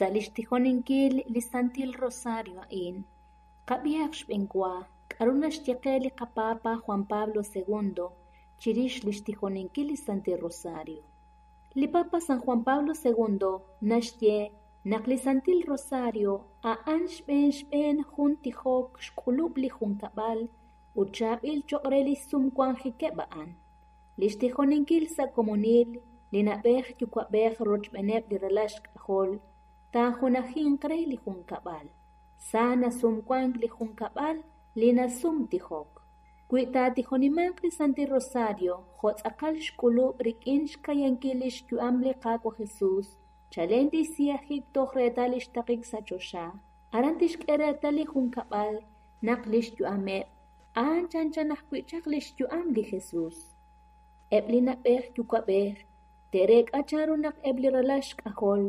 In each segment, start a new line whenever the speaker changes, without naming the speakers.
Sa' li xtijoninkil li Santil Rosario a'in, qab'ihaq xb'enwa k'aru naxye qe li qaPapa Juan Pablo II chirix li xtijoninkil li Santil Rosario. Li Papa San Juan Pablo II naxye naq li Santil Rosario a'an xb'een xb'een jun tijok xk'ulub' li junkab'al ut chaab'il cho'q re li xsumwanjikeb' a'an. Li xtijoninkil sa' komonil li na'b'ej yuwa'b'ej rochb'eeneb' li ralal xk'ajol taajunajinq re li junkab'al. Sa nasumwank li junkab'al li nasumtijok. Wi taatijonimanq li Santil Rosario jo' tz'aqal xk'ulub' rik'in xka'yankil li xyu'am li Qaawa' Jesús, chalen li xsiyajik toj reetal li xtaqik sa' choxa, aran tixk'e reetal li junkab'al naq li xyu'ameb' a'an chanchan ajwi' chaq li xyu'am li Jesús. Eb' li na'b'ej yuwa'b'ej te'reek'a chanru naq eb' li ralal xk'ajol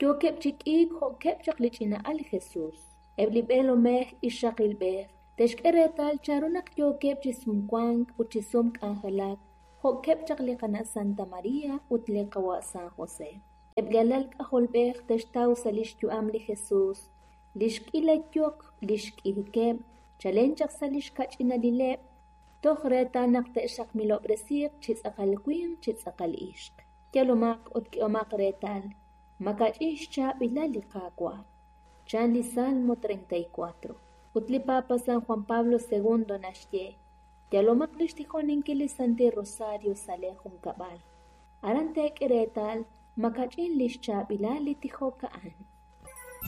yookeb' chi k'iik jo'keb' chaq li ch'ina'al Jesús. Eb' li b'eelomej ixaqilb'ej te'xk'e reetal chanru naq yookeb' chi sumwank ut chi sumk'anjelak jo'keb' chaq li qana' Santa María ut li qawa' San José. Eb' li alal k'ajolb'ej te'xtaw sa' li xyu'am li Jesús li xk'ila yok li xk'ijikeb' chalen chaq sa' li xkach'inalileb' toj reetal naq te'xaqmilob'resiiq chi tz'aqal winq chi tz'aqal ixq. Yalomaq ut k'ehomaq reetal makach'in xchaab'ilal li Qaawa'. Chan li Salmo 34. Ut li Papa San Juan Pablo II naxye, yalomaq li xtijoninkil li Santil Rosario sa' lee junkab'al. Aran teek'e reetal makach'in li xchaab'ilal li tijok a'an.